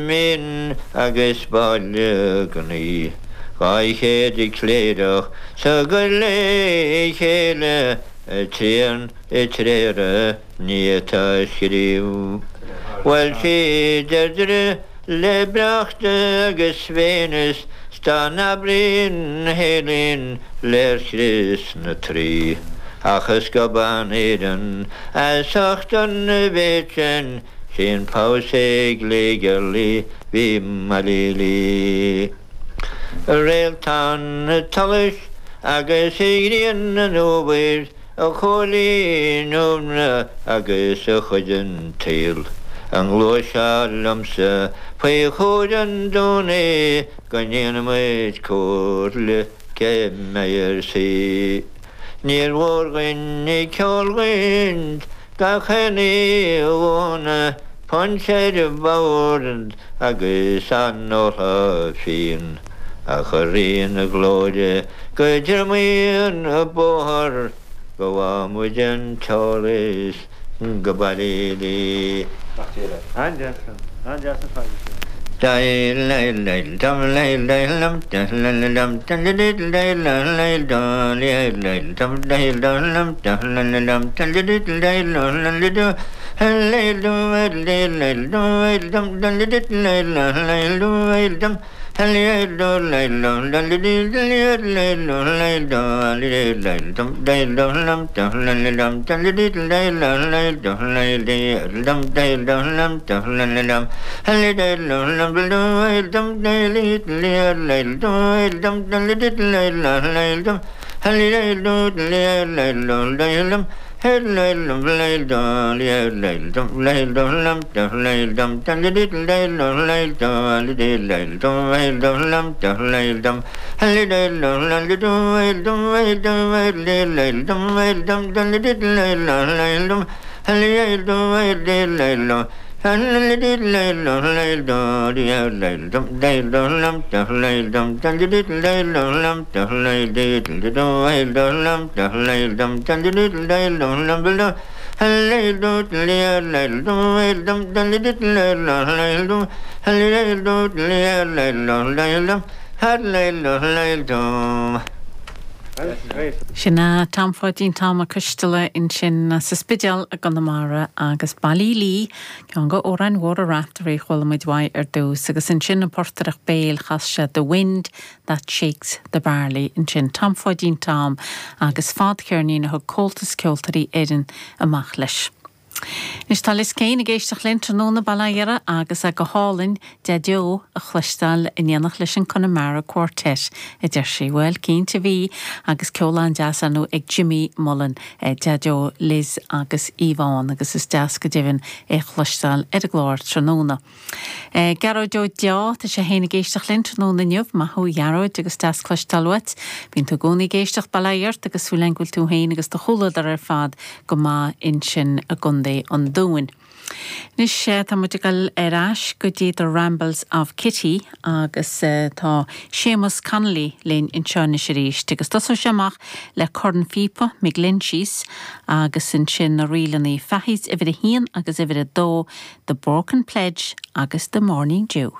Min agus Baile Ghnaoi, 200 cléireach 's gur le chéile tréan i dtréara ní atá scríobh. Bhuail sí Deirdre le Brechta agus Venus 's dá n-abraínn Héilin léirscrios na Traí. Ach is gobán Éireann as ucht an mhéid sin Sin pabhsae gliogerlaí bhí Mailílí. Réaltán an tsolais agus grian an fhómhair, a Chóilín Iúmra agus a chuid den tsaol, a ngluaiseá liomsa faoi chúir an Domhnaigh go ndéana muid comhairle cé mbeidh ar saoi. Níor mhór dhuinn ceol dhuinn gach aon oíche punch ar bord agus an ólfá fíon, ach a Rí na Glóire go dtriomaigh an bóthar go bhfaighidh muid an t-eolas go Ballylee. An-deas ar fad é sin. Sin é Tom Pháidín Tom Mac Coisteala ansin as an Spidéal i gConamara agus Ballylee, ceann de amhráin mhóra Raiftearaí a chuala muid uaidh ar dtús agus ansin an portaireacht béil chas sé The Wind That Shakes the Barley ansin, Tom Pháidín Tom agus fadcheirnín a thug Comhaltas Ceoltóirí Éireann amach leis. Anois tá Liz Kane ag éisteacht linn tráthnóna, Bail ó Dhia uirthi, agus é go hálainn Deaideo a chloisteáil in éineacht leis an Connemara Quartet, a deir sí. Bhuel, cinnte bhí, agus ceol an-deas ar ndóigh ag Jimmy Mullen, Deaideo Liz agus Yvonne, agus is deas go deimhin é a chloisteáil ar an gclár tráthnóna. Gearóid Ó Deá, tá sé féin ag éisteacht linn tráthnóna inniu. Maith thú a Ghearóid agus deas cloisteáil uait. Bíonn tú i gcónaí ag éisteacht, bail ó Dhia ort agus súil againn go bhfuil tú féin agus do chomhluadar ar fad go maith ansin i gContae an Dúin. Anois tá muid ag dul ar ais go dtí The Rambles of Kitty agus tá Séamus Connolly linn anseo anois arís agus tosóidh sé amach le Cornphíopa McGlinchey's agus ansin na ríleanna Fahy's uimhir a haon agus uimhir a dó, The Broken Pledge agus The Morning Dew.